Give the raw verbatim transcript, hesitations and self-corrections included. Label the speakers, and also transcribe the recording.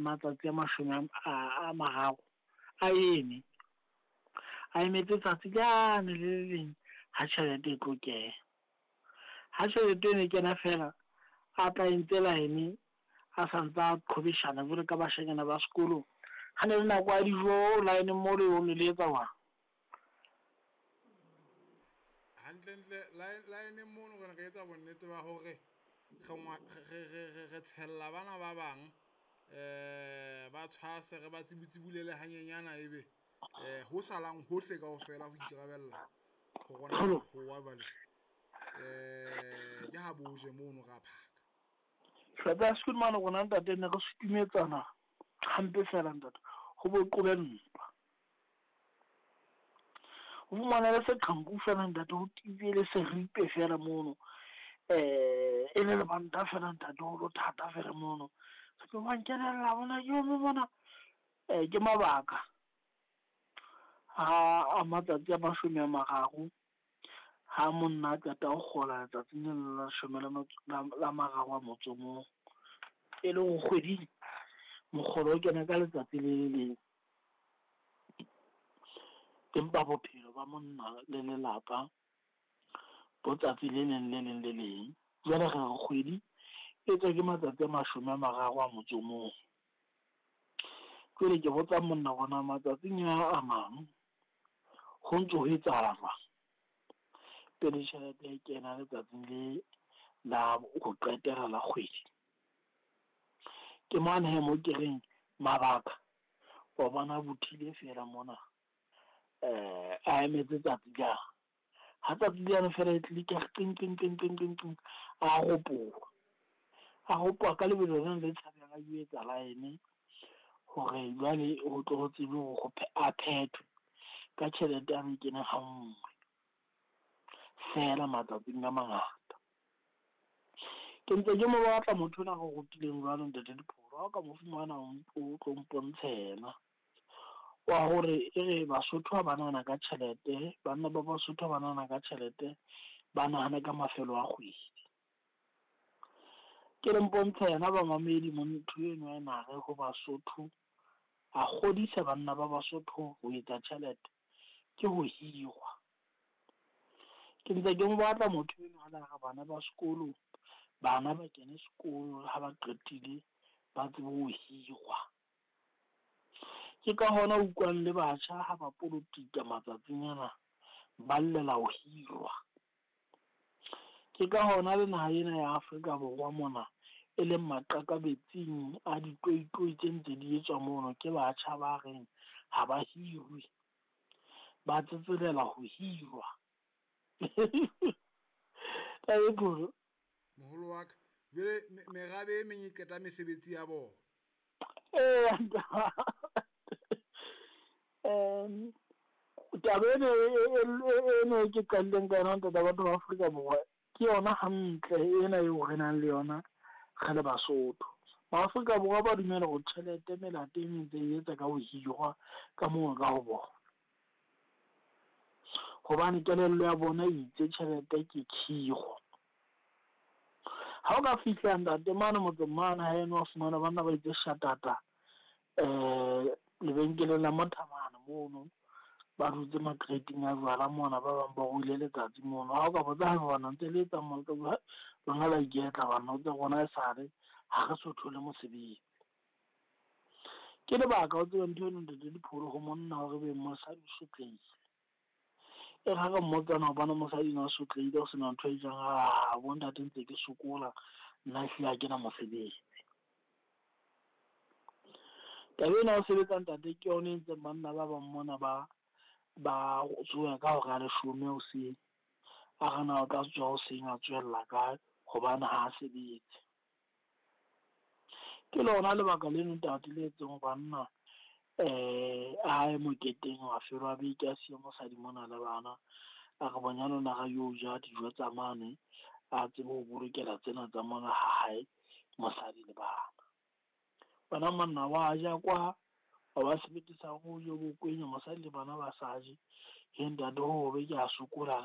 Speaker 1: Matsatsi a mashome a a mararo a eme, a emetse tsatsi lane le le leng ha tjhelete e tlo kena. Ha tjhelete eno e kena feela, a tla entse line a santsa qhwebeshana jwalo ka bashanyana ba sekolo. Ha ne le nako ya dijo line mo le le etsa jwang?
Speaker 2: Hantlentle line mono re ne re etsa bonnete ba hore re re tshella bana ba bang ba tshwase, re ba tsebutsebulela hanyenyana ebe ho salang hohle kaofela ho ikarabella ho rona makgowa jwale. Ke ha bo je mono ra phaka.
Speaker 1: Hlopha ya sekolo mane rona ntate ne re sutumetsana hampe fela ntate, ho bo qobe ntwa. O fumane le seqhanku fela ntate, ho tiile le seripe fela mono. E le lebanta fela ntate, ho le thata fela mono. Wa nkenela mona mona. Ke mabaka a matsatsi a mashome a mararo ha monna a qeta ho kgola letsatsing leno la leshome le a mararo a motso o mong. E le hore kgweding mokgolo o kena ka letsatsi le le leng. Empa bophelo ba monna le lelapa bo tsatsi le leng le leng le leng. Jwale re re kgwedi e etswa ke matsatsi a mashome a mararo a motso o mong. Jwale ke botsa monna hore na matsatsing a a mang ho ntso ho etsahala jwang? Pele tjhelete e kena letsatsing le la ho qetela la kgwedi. Ke mane hee mo ke reng mabaka wa bona bothile feela mona a emetse tsatsi . Ha tsatsi lane fela e click-a qing qing qing qing qing qing, a ropoha. A ropoha ka lebelo lena le tshabehang, a yo etsa line hore jwale ho tlo ho tsebe hore a phethwe ka tjhelete a kene ha nngwe feela matsatsing a mangata. Ke ntse ke mo batla motho enwa a re rutileng jwalo ntate Dipholo. Ha o ka mo fumana o tlo mpontshe yena wa hore e re Basotho ha ba nahana ka tjhelete, banna ba Basotho ha ba nahana ka tjhelete, ba nahane ka mafelo a kgwedi. Ke le mpontshe yena bamamedi motho enwa a na re ho Basotho, a kgodisa banna ba Basotho ho etsa tjhelete ke ho hirwa. Ke ntse ke mo batla motho enwa a la re bana ba sekolo, bana ba kene sekolo ha ba qetile ba tsebe ho hirwa. Ke ka hona o utlwang le batjha ha ba polokika matsatsing ana, ba llela ho hirwa. Ke ka hona le naha ena ya Afrika Borwa mona e leng maqakabetsing a ditoitoi tse ntse di etswa mono ke batjha ba reng ha ba hirwe, ba tsetselela ho hirwa.
Speaker 2: Moholo wa ka, jwale merabe e meng e qeta mesebetsi ya bona.
Speaker 1: Eya taba ena eno e ke qadileng ka yona ntate batho ba Afrika Borwa ke yona hantle ena eo re nang le yona re le Basotho. Ma Afrika Borwa ba dumela hore tjhelete melato e meng ntse e etsa ka ho hirwa ka moo ka ho bona. Hobane kelello ya bona e itse tjhelete ke khiro. Ha o ka fihla ntate mane motseng mane ha eno wa fumana banna ba itse shatata lebenkeleng la Mothamana mono, ba dutse makreiting a jwala mona, ba bang ba ruile letsatsi mono. Ha o ka botsa bana ntse le etsang mo lona la iketla banna o rona esale ha re so thole mosebetsi. Ke lebaka o tsebe ntho eno ntate Dipholo ho monna hore ebe mosadi o sotlehile. E re ha re mmotsa na hobane mosadi ena a sotlehile ho sena ntho e jang, a bo ntate ntse ke sokola nna ehlile ha kena mosebetsi. Taba ena ya ho sebetsa ntate ke yona e entseng banna ba bang mona ba ba tsoha ka hora ya leshome hoseng. A re na o tla tsoha hoseng a tsohella kae hobane ha a sebetse. Ke lona lebaka leno ntate le etseng banna a ye moketeng mafelo a beke a siye mosadi mona le bana. A re bonyane o na re yo ja dijo tsa mane, a tsebe ho bolokela tsena tsa mona ha hae mosadi le bana. Wena monna wa ja kwa, wa ba sebete sa hore o je o bo kwenye mosadi le bana ba sa je. Ntate ho hobe ke a sokola.